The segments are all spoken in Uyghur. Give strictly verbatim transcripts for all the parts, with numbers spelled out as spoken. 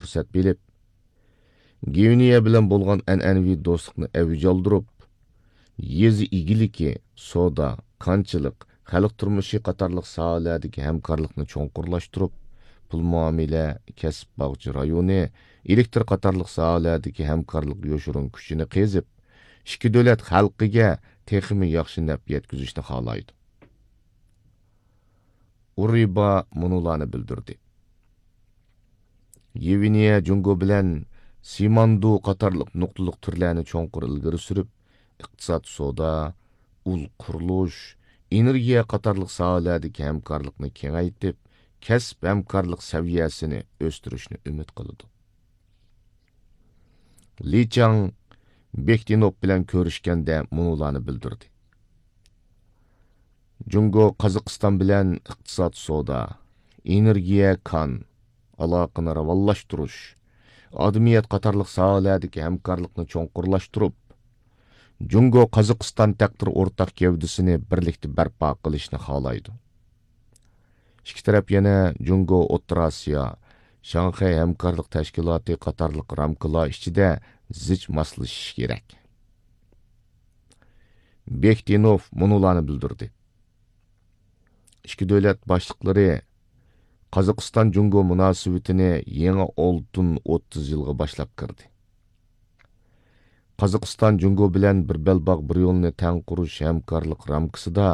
پۇرسەت بىلىپ، گۋىنېيە بىلەن بولغان ئەنئەنىۋى دوستلۇقنى ئەۋج ئالدۇرۇپ، يېزا ئىگىلىكى، سودا، كانچىلىق، خەلق تۇرمۇشى قاتارلىق ساھەلەردىكى ھەمكارلىقنى چوڭقۇرلاشتۇرۇپ، پۇل مۇئامىلە، كەسىپ باغچە رايونى، ئېلېكتر قاتارلىق ساھەلەردىكى ھەمكارلىق يوشۇرۇن كۈچىنى قېزىپ، ئىككى دۆلەت خەلقىگە تېخىمۇ ياخشى نەپ يەتكۈزۈشنى خالايدۇ. ئۇرىبا مۇنۇلارنى بىلدۈردى. يېۋىنىيە جۇڭگو بىلەن سىماندۇ قاتارلىق نۇقتىلىق تۈرلەرنى چوڭقۇر ئىلگىرى سۈرۈپ، ئىقتىساد، سودا، ئۇل قۇرۇلۇش، ئېنېرگىيە قاتارلىق ساھەلەردىكى ھەمكارلىقنى كېڭەيتىپ، كەسىپ ھەمكارلىق سەۋىيەسىنى ئۆستۈرۈشنى ئۈمىد قىلىدۇ. لى چاڭ بېكتىنوف بىلەن كۆرۈشكەندە مۇنۇلارنى بىلدۈردى. جۇڭگو قازاقىستان بىلەن ئىقتىساد، سودا، ئېنېرگىيە، كان، ئالاقىنى راۋانلاشتۇرۇش، ئادىمىيەت قاتارلىق ساھەلەردىكى ھەمكارلىقنى چوڭقۇرلاشتۇرۇپ، جۇڭگو قازاقىستان تەقدىر ئورتاق گەۋدىسىنى بىرلىكتە بەرپا قىلىشنى خالايدۇ. ئىككى تەرەپ يەنە جۇڭگو ئوتتۇرا ئاسىيا، شاڭخەي ھەمكارلىق تەشكىلاتى قاتارلىق رامكىلار ئىچىدە زىچ ماسلىشىشى كېرەك. بېكتىنوف مۇنۇلارنى بىلدۈردى. ئىككى دۆلەت باشلىقلىرى قازاقىستان جۇڭگو مۇناسىۋىتىنى يېڭى ئالتۇن ئوتتۇز يىلغا باشلاپ كىردى. قازاقىستان جۇڭگو بىلەن بىر بەلباغ بىر يولنى تەڭ قۇرۇش ھەمكارلىق رامكىسىدا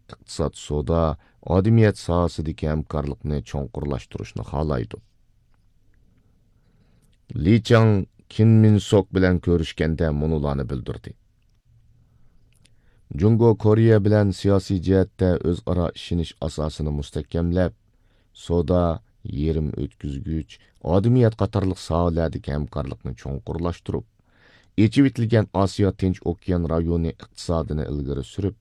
ئىقتىساد، سودا، ئادىمىيەت ساھەسىدىكى ھەمكارلىقنى چوڭقۇرلاشتۇرۇشنى خالايدۇ. لى چاڭ كىم مىن سوك بىلەن كۆرۈشكەندە مۇنۇلارنى بىلدۈردى. جۇڭگو كورېيە بىلەن سىياسىي جەھەتتە ئۆزئارا ئىشىنىش ئاساسىنى مۇستەھكەملەپ، سودا، يېرىم ئۆتكۈزگۈچ، ئادىمىيەت قاتارلىق ساھەلەردىكى ھەمكارلىقنى چوڭقۇرلاشتۇرۇپ، ئېچىۋېتىلگەن ئاسىيا تىنچ ئوكيان رايونى ئىقتىسادىنى ئىلگىرى سۈرۈپ،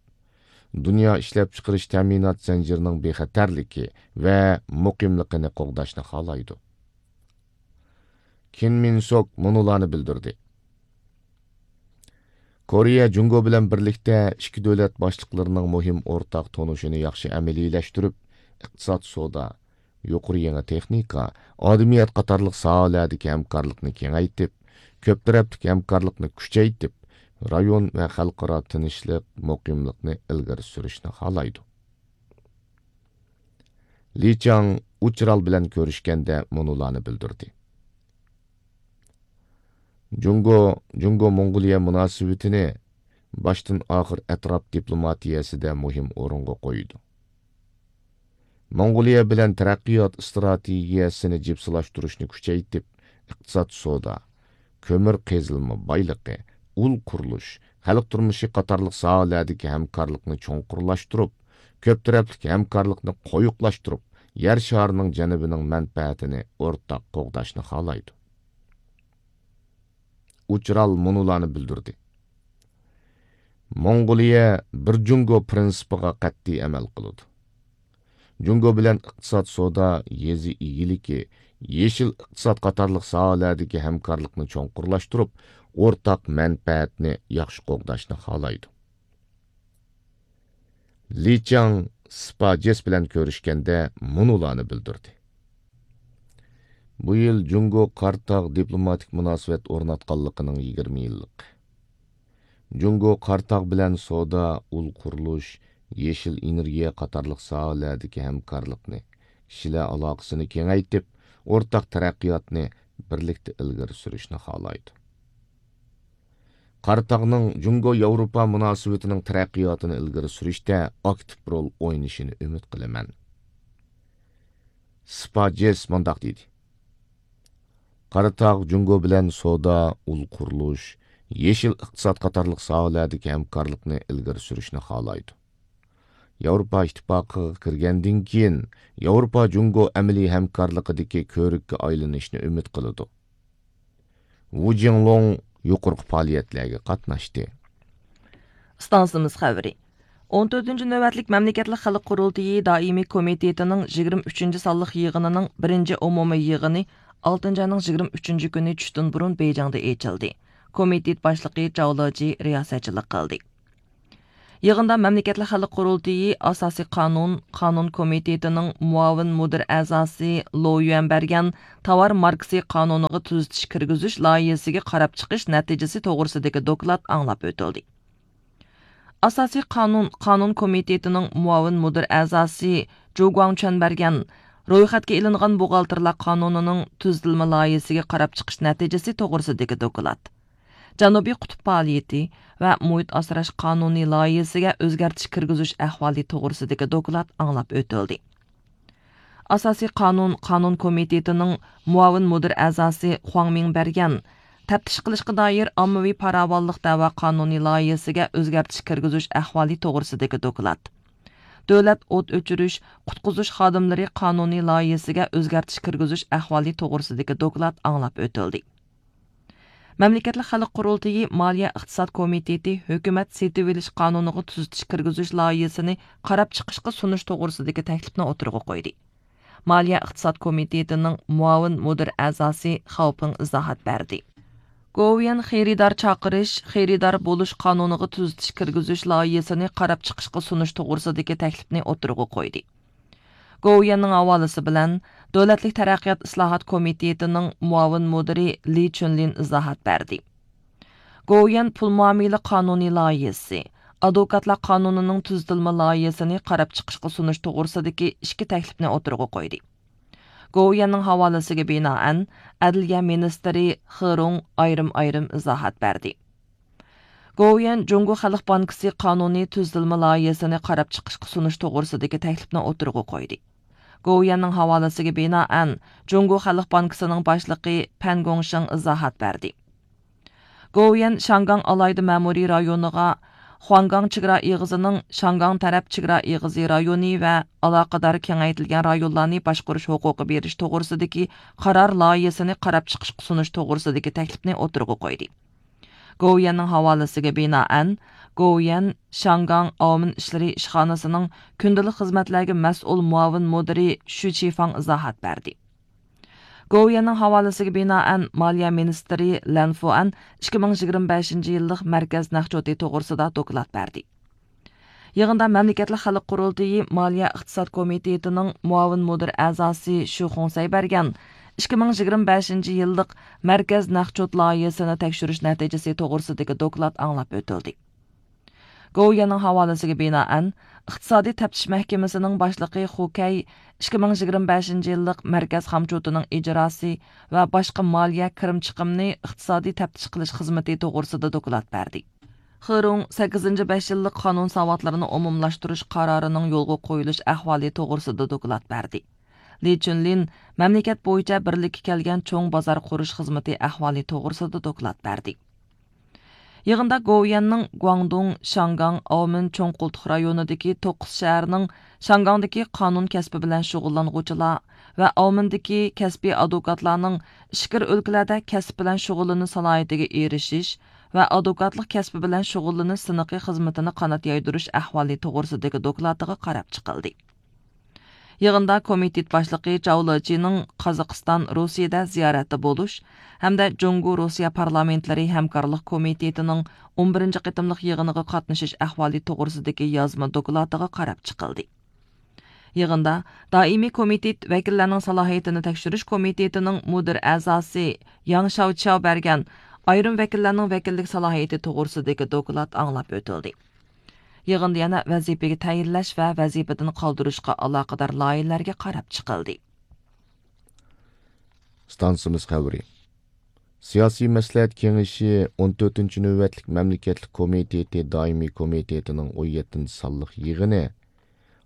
دۇنيا ئىشلەپچىقىرىش تەمىنات زەنجىرىنىڭ بىخەتەرلىكى ۋە مۇقىملىقىنى قوغداشنى خالايدۇ. كىم مىن سوك مۇنۇلارنى بىلدۈردى. كورېيە جۇڭگو بىلەن بىرلىكتە ئىككى دۆلەت باشلىقلىرىنىڭ مۇھىم ئورتاق تونۇشىنى ياخشى ئەمەلىيلەشتۈرۈپ، ئىقتىساد، سودا، يۇقىرى يېڭى تېخنىكا، ئادىمىيەت قاتارلىق ساھەلەردىكى ھەمكارلىقنى كېڭەيتىپ، كۆپ تەرەپلىك ھەمكارلىقنى كۈچەيتىپ، رايون ۋە خەلقئارا تىنچلىق، مۇقىملىقنى ئىلگىرى سۈرۈشنى خالايدۇ. لى چاڭ ئۇچرال بىلەن كۆرۈشكەندە مۇنۇلارنى بىلدۈردى. جۇڭگو، جۇڭگو موڭغۇلىيە مۇناسىۋىتىنى باشتىن ئاخىر ئەتراپ دىپلوماتىيەسىدە مۇھىم ئورۇنغا قويىدۇ. موڭغۇلىيە بىلەن تەرەققىيات ئىستراتېگىيەسىنى جىپسىلاشتۇرۇشنى كۈچەيتىپ، ئىقتىساد، سودا، كۆمۈر قېزىلما بايلىقى، ئۇل قۇرۇلۇش، خەلق تۇرمۇشى قاتارلىق ساھەلەردىكى ھەمكارلىقنى چوڭقۇرلاشتۇرۇپ، كۆپ تەرەپلىك ھەمكارلىقنى قويۇقلاشتۇرۇپ، يەر شارىنىڭ جەنۇبىنىڭ مەنپەئەتىنى ئورتاق قوغداشنى خالايدۇ. ئۇچرال مۇنۇلارنى بىلدۈردى. موڭغۇلىيە بىر جۇڭگو پىرىنسىپىغا قەتئىي ئەمەل قىلىدۇ. جۇڭگو بىلەن ئىقتىساد، سودا، يېزا ئىگىلىكى، يېشىل ئىقتىساد قاتارلىق ساھەلەردىكى ھەمكارلىقنى چوڭقۇرلاشتۇرۇپ، ئورتاق مەنپەئەتنى ياخشى قوغداشنى خالايدۇ. لى چاڭ سىپاجېس بىلەن كۆرۈشكەندە مۇنۇلارنى بىلدۈردى. بۇ يىل جۇڭگو قاراتاغ دىپلوماتىك مۇناسىۋەت ئورناتقانلىقىنىڭ يىگىرمە يىللىقى. جۇڭگو قاراتاغ بىلەن سودا، ئۇل قۇرۇلۇش، يېشىل ئېنېرگىيە قاتارلىق ساھەلەردىكى ھەمكارلىقنى، كىشىلەر ئالاقىسىنى كېڭەيتىپ، ئورتاق تەرەققىياتنى بىرلىكتە ئىلگىرى سۈرۈشنى خالايدۇ. قاراتاغنىڭ جۇڭگو ياۋروپا مۇناسىۋىتىنىڭ تەرەققىياتىنى ئىلگىرى سۈرۈشتە ئاكتىپ رول ئوينىشىنى ئۈمىد قىلىمەن. سىپاجېس مۇنداق دېدى. قاراتاغ جۇڭگو بىلەن سودا، ئۇل قۇرۇلۇش، يېشىل ئىقتىساد قاتارلىق ساھەلەردىكى ھەمكارلىقنى ئىلگىرى سۈرۈشنى خالايدۇ. ياۋروپا ئىتتىپاقىغا كىرگەندىن كېيىن، ياۋروپا جۇڭگو ئەمەلىي ھەمكارلىقىدىكى كۆۋرۈككە ئايلىنىشنى ئۈمىد قىلىدۇ. ۋۇ جىڭلۇڭ يۇقىرىقى پائالىيەتلەرگە قاتناشتى. ئىستانسىمىز خەۋىرى. ئون تۆتىنچى نۆۋەتلىك مەملىكەتلىك خەلق قۇرۇلتىيى دائىمىي كومىتېتىنىڭ يىگىرمە ئۈچىنچى سانلىق يىغىنىنىڭ بىرىنچى ئومۇمىي يىغىنى ئالتىنچى ئاينىڭ يىگىرمە ئۈچىنچى كۈنى چۈشتىن بۇرۇن بېيجىڭدا ئېچىلدى. كومىتېت باشلىقى جاۋ لېجى رىياسەتچىلىك قىلدى. يىغىندا مەملىكەتلىك خەلق قۇرۇلتىيى ئاساسىي قانۇن، قانۇن كومىتېتىنىڭ مۇئاۋىن مۇدىر ئەزاسى لو يۈەن بەرگەن تاۋار ماركىسى قانۇنىغا تۈزىتىش كىرگۈزۈش لايىھىسىگە قاراپ چىقىش نەتىجىسى توغرىسىدىكى دوكلات ئاڭلاپ ئۆتۈلدى. ئاساسىي قانۇن، قانۇن كومىتېتىنىڭ مۇئاۋىن مۇدىر ئەزاسى جۇ گۇاڭچۈەن بەرگەن رويخەتكە ئېلىنغان بوغالتىرلار قانۇنىنىڭ تۈزىتىلمە لايىھىسىگە قاراپ چىقىش نەتىجىسى توغرىسىدىكى دوكلات، جەنۇبىي قۇتۇپ پائالىيىتى ۋە مۇھىت ئاسراش قانۇنى لايىھىسىگە ئۆزگەرتىش كىرگۈزۈش ئەھۋالى توغرىسىدىكى دوكلات ئاڭلاپ ئۆتۈلدى. ئاساسىي قانۇن، قانۇن كومىتېتىنىڭ مۇئاۋىن مۇدىر ئەزاسى خۇاڭ مىڭ بەرگەن تەپتىش قىلىشقا دائىر ئاممىۋى پاراۋانلىق دەۋا قانۇنى لايىھىسىگە ئۆزگەرتىش كىرگۈزۈش ئەھۋالى توغرىسىدىكى دوكلات، دۆلەت ئوت ئۆچۈرۈش، قۇتقۇزۇش خادىملىرى قانۇنى لايىھىسىگە ئۆزگەرتىش كىرگۈزۈش ئەھۋالى توغرىسىدىكى دوكلات ئاڭلاپ ئۆتۈلدى. مەملىكەتلىك خەلق قۇرۇلتىيى مالىيە ئىقتىساد كومىتېتى ھۆكۈمەت سېتىۋېلىش قانۇنىغا تۈزىتىش كىرگۈزۈش لايىھىسىنى قاراپ چىقىشقا سۇنۇش توغرىسىدىكى تەكلىپنى ئوتتۇرىغا قويدى. مالىيە ئىقتىساد كومىتېتىنىڭ مۇئاۋىن مۇدىر ئەزاسى خاۋ پىڭ ئىزاھات بەردى. گوۋۇيۈەن خېرىدار چاقىرىش، خېرىدار بولۇش قانۇنىغا تۈزىتىش كىرگۈزۈش لايىھىسىنى قاراپ چىقىشقا سۇنۇش توغرىسىدىكى تەكلىپنى ئوتتۇرىغا قويدى. گوۋۇيۈەننىڭ ھاۋالىسى بىلەن دۆلەتلىك تەرەققىيات ئىسلاھات كومىتېتىنىڭ مۇئاۋىن مۇدىرى لى چۈنلىن ئىزاھات بەردى. گوۋۇيۈەن پۇل مۇئامىلە قانۇنى لايىھىسى، ئادۋوكاتلار قانۇنىنىڭ تۈزىتىلمە لايىھىسىنى قاراپ چىقىشقا سۇنۇش توغرىسىدىكى ئىككى تەكلىپنى ئوتتۇرىغا قويدى. گوۋۇيۈەننىڭ ھاۋالىسىگە بىنائەن، ئەدلىيە مىنىستىرى خې رۇڭ ئايرىم-ئايرىم ئىزاھات بەردى. گوۋۇيۈەن جۇڭگو خەلق بانكىسى قانۇنى تۈزىتىلمە لايىھىسىنى قاراپ چىقىشقا سۇنۇش توغرىسىدىكى تەكلىپنى ئوتتۇرىغا قويدى. گوۋۇيۈەننىڭ ھاۋالىسىگە بىنائەن، جۇڭگو خەلق بانكىسىنىڭ باشلىقى پەن گوڭشېڭ ئىزاھات بەردى. گوۋۇيۈەن شياڭگاڭ ئالاھىدە مەمۇرىي رايونىغا، خۇاڭگاڭ چېگرا ئېغىزىنىڭ شياڭگاڭ تەرەپ چېگرا ئېغىزى رايونى ۋە ئالاقىدار كېڭەيتىلگەن رايونلارنى باشقۇرۇش ھوقۇقى بېرىش توغرىسىدىكى قارار لايىھىسىنى قاراپ چىقىشقا سۇنۇش توغرىسىدىكى تەكلىپنى ئوتتۇرىغا قويدى. گوۋۇيۈەننىڭ ھاۋالىسىگە بىنائەن، گوۋۇيۈەن شياڭگاڭ ئاۋمېن ئىشلىرى ئىشخانىسىنىڭ كۈندىلىك خىزمەتلەرگە مەسئۇل مۇئاۋىن مۇدىرى شۈ چىفاڭ ئىزاھات بەردى. گوۋۇيۈەننىڭ ھاۋالىسىگە بىنائەن، مالىيە مىنىستىرى لەن فۇئەن ئىككى مىڭ يىگىرمە بەشىنچى يىللىق مەركەز نەقچوتى توغرىسىدا دوكلات بەردى. يىغىندا مەملىكەتلىك خەلق قۇرۇلتىيى مالىيە ئىقتىساد كومىتېتىنىڭ مۇئاۋىن مۇدىر ئەزاسى شۇ خۇڭسەي بەرگەن ئىككى مىڭ يىگىرمە بەشىنچى يىللىق مەركەز نەقچوت لايىھىسىنى تەكشۈرۈش نەتىجىسى توغرىسىدىكى دوكلات ئاڭلاپ ئۆتۈلدى. گوۋۇيۈەننىڭ ھاۋالىسىگە بىنائەن، ئىقتىسادىي تەپتىش مەھكىمىسىنىڭ باشلىقى خۇ كەي ئىككى مىڭ يىگىرمە بەشىنچى يىللىق مەركەز خامچوتىنىڭ ئىجراسى ۋە باشقا مالىيە كىرىم چىقىمنى ئىقتىسادىي تەپتىش قىلىش خىزمىتى توغرىسىدا دوكلات بەردى. خې رۇڭ سەككىزىنچى بەش يىللىق قانۇن ساۋاتلىرىنى ئومۇملاشتۇرۇش قارارىنىڭ يولغا قويۇلۇش ئەھۋالى توغرىسىدا دوكلات بەردى. لى چۈنلىن مەملىكەت بويىچە بىرلىككە كەلگەن چوڭ بازار قۇرۇش خىزمىتى ئەھۋالى توغرىسىدا دوكلات بەردى. يىغىندا گوۋۇيۈەننىڭ گۇاڭدۇڭ، شياڭگاڭ، ئاۋمېن چوڭ قولتۇق رايونىدىكى توققۇز شەھەرنىڭ شياڭگاڭدىكى قانۇن كەسپى بىلەن شۇغۇللانغۇچىلار ۋە ئاۋمېندىكى كەسپىي ئادۋوكاتلارنىڭ ئىچكىرى ئۆلكىلەردە كەسىپ بىلەن شۇغۇللىنىش سالاھىيىتىگە ئېرىشىش ۋە ئادۋوكاتلىق كەسپى بىلەن شۇغۇللىنىش سىنىقى خىزمىتىنى قانات يايدۇرۇش ئەھۋالى توغرىسىدىكى دوكلاتىغا قاراپ چىقىلدى. يىغىندا كومىتېت باشلىقى چاۋ لېچىنىڭ قازاقىستان، روسىيەدە زىيارەتتە بولۇش ھەمدە جۇڭگو روسىيە پارلامېنتلىرى ھەمكارلىق كومىتېتىنىڭ ئون بىرىنچى قېتىملىق يىغىنىغا قاتنىشىش ئەھۋالى توغرىسىدىكى يازما دوكلاتىغا قاراپ چىقىلدى. يىغىندا دائىمىي كومىتېت ۋەكىللەرنىڭ سالاھىيىتىنى تەكشۈرۈش كومىتېتىنىڭ مۇدىر ئەزاسى ياڭ شياۋچياۋ بەرگەن ئايرىم ۋەكىللەرنىڭ ۋەكىللىك سالاھىيىتى توغرىسىدىكى دوكلات ئاڭلاپ ئۆتۈلدى. يىغىندا يەنە ۋەزىپىگە تەيىنلەش ۋە ۋەزىپىدىن قالدۇرۇشقا ئالاقىدار لايىھىلەرگە قاراپ چىقىلدى. ئىستانسىمىز خەۋىرى. سىياسىي مەسلىھەت كېڭىشى ئون تۆتىنچى نۆۋەتلىك مەملىكەتلىك كومىتېتى دائىمىي كومىتېتىنىڭ ئون يەتتىنچى سانلىق يىغىنى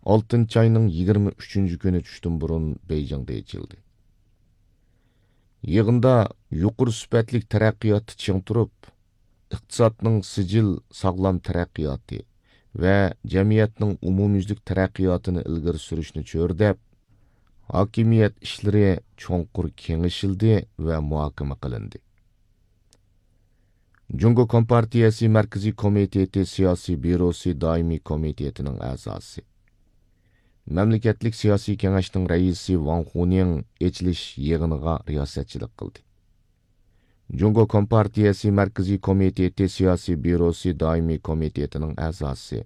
ئالتىنچى ئاينىڭ يىگىرمە ئۈچىنچى كۈنى چۈشتىن بۇرۇن بېيجىڭدا ئېچىلدى. يىغىندا يۇقىرى سۈپەتلىك تەرەققىياتتا چىڭ تۇرۇپ، ئىقتىسادنىڭ سىجىل، ساغلام تەرەققىياتى ۋە جەمئىيەتنىڭ ئومۇميۈزلۈك تەرەققىياتىنى ئىلگىرى سۈرۈشنى چۆرىدەپ، ھاكىمىيەت ئىشلىرى چوڭقۇر كېڭىشىلدى ۋە مۇھاكىمە قىلىندى. جۇڭگو كومپارتىيەسى مەركىزىي كومىتېتى سىياسىي بيۇروسى دائىمىي كومىتېتىنىڭ ئەزاسى، مەملىكەتلىك سىياسىي كېڭەشنىڭ رەئىسى ۋاڭ خۇنىڭ ئېچىلىش يىغىنىغا رىياسەتچىلىك قىلدى. جۇڭگو كومپارتىيەسى مەركىزىي كومىتېتى سىياسىي بيۇروسى دائىمىي كومىتېتىنىڭ ئەزاسى،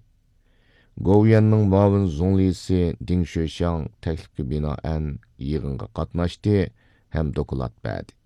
گوۋۇيۈەننىڭ مۇئاۋىن زۇڭلىسى دىڭ شۆشياڭ تەكلىپكە بىنائەن يىغىنغا قاتناشتى ھەم دوكلات بەردى.